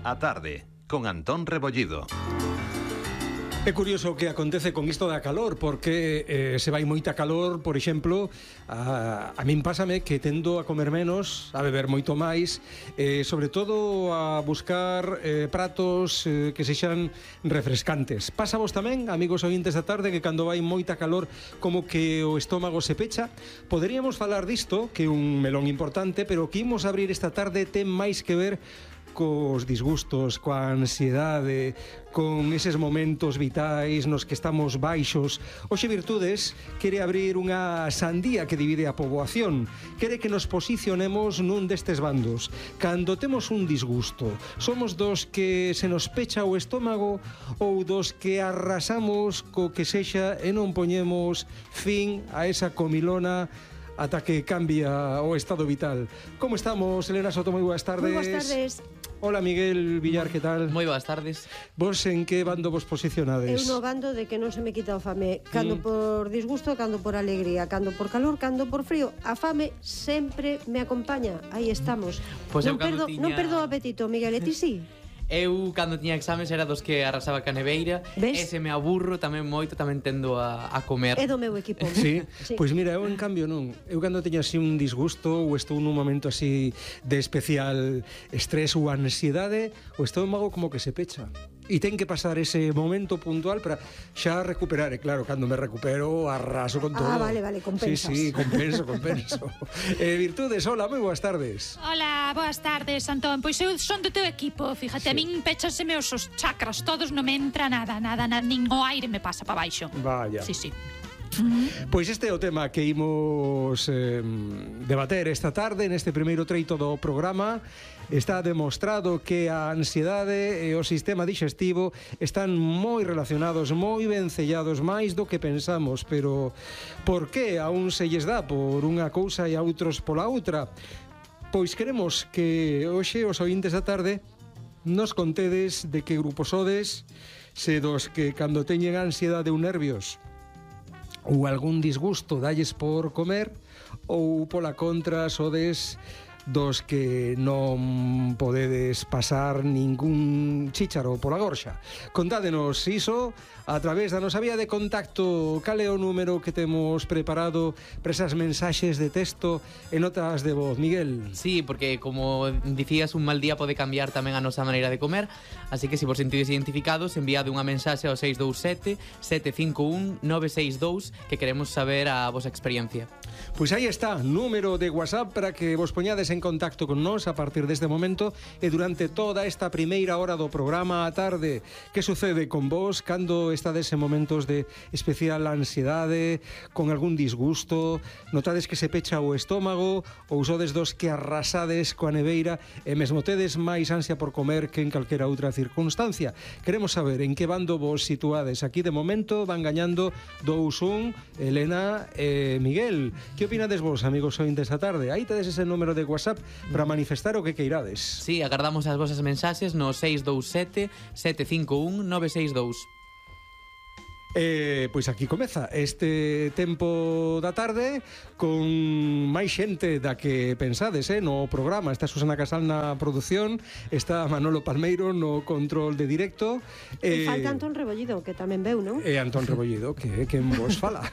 A tarde, con Antón Rebollido. É curioso o que acontece con isto da calor, porque se vai moita calor, por exemplo, a min pásame que tendo a comer menos, a beber moito máis, sobre todo a buscar pratos que sexan refrescantes. Pasa vos tamén, amigos ointes da tarde, que cando vai moita calor como que o estómago se pecha? Poderíamos falar disto, que é un melón importante, pero o que imos abrir esta tarde ten máis que ver cos disgustos, coa ansiedade, con eses momentos vitais nos que estamos baixos. Oxe Virtudes quere abrir unha sandía que divide a poboación. Quere que nos posicionemos nun destes bandos. Cando temos un disgusto, somos dos que se nos pecha o estómago ou dos que arrasamos co que sexa e non poñemos fin a esa comilona ata que cambia o estado vital. Como estamos, Elena Soto? Moi boas tardes. Moi boas tardes. Hola, Miguel Villar, que tal? Moi boas tardes. Vos en que bando vos posicionades? Eu no bando de que non se me quita o fame. Cando por disgusto, cando por alegría, cando por calor, cando por frío. A fame sempre me acompaña. Aí estamos. Pois non perdo o apetito, Miguel, e ti sí? Eu, cando tiña exames, era dos que arrasaba ca neveira. Ves? E se me aburro tamén moito, tamén tendo a comer. É do meu equipo. Sí? Sí. Pois mira, eu en cambio non. Eu cando teño así un disgusto ou estou nun momento así de especial estrés ou ansiedade, o estómago como que se pecha. E ten que pasar ese momento puntual para xa recuperar. E claro, cando me recupero, arraso con todo. Vale, compensas. Sí, compenso. Virtudes, hola, moi boas tardes. Hola, boas tardes, Antón. Pois eu son do teu equipo, fíjate, a min péchaseme os chakras todos, non me entra nada, nin o aire me pasa para baixo. Vaya. Sí. Pois este é o tema que imos debater esta tarde neste primeiro treito do programa. Está demostrado que a ansiedade e o sistema dixestivo están moi relacionados, moi vencellados, máis do que pensamos. Pero por que a un se lles dá por unha cousa e a outros pola outra? Pois queremos que hoxe os ointes da tarde nos contedes de que grupo sodes, se dos que cando teñen ansiedade ou nervios ou algún disgusto dalles por comer, ou pola contra sodes dos que non podedes pasar ningún chícharo pola gorxa. Contádenos iso a través da nosa vía de contacto. Cal é o número que temos preparado para esas mensaxes de texto e notas de voz, Miguel? Sí, porque como dicías, un mal día pode cambiar tamén a nosa maneira de comer. Así que se vos sentides identificados, enviade unha mensaxe ao 627-751-962, que queremos saber a vosa experiencia. Pois aí está, número de WhatsApp para que vos poñades en contacto con nós a partir deste momento e durante toda esta primeira hora do programa á tarde. Que sucede con vos cando estades en momentos de especial ansiedade, con algún disgusto, notades que se pecha o estómago ou sodes dos que arrasades coa neveira e mesmo tedes máis ansia por comer que en calquera outra circunstancia? Queremos saber en que bando vos situades. Aquí de momento van gañando 2-1 Elena e Miguel. Que opinades vos, amigos ointes da tarde? Aí tedes ese número de WhatsApp para manifestar o que queirades. Sí, agardamos as vosas mensaxes no 627-751-962. Pois aquí comeza este tempo da tarde con máis xente da que pensades no programa. Está Susana Casal na produción, está Manolo Palmeiro no control de directo E falta Antón Rebollido, que tamén veu, non? E Antón Rebollido, que quen vos fala.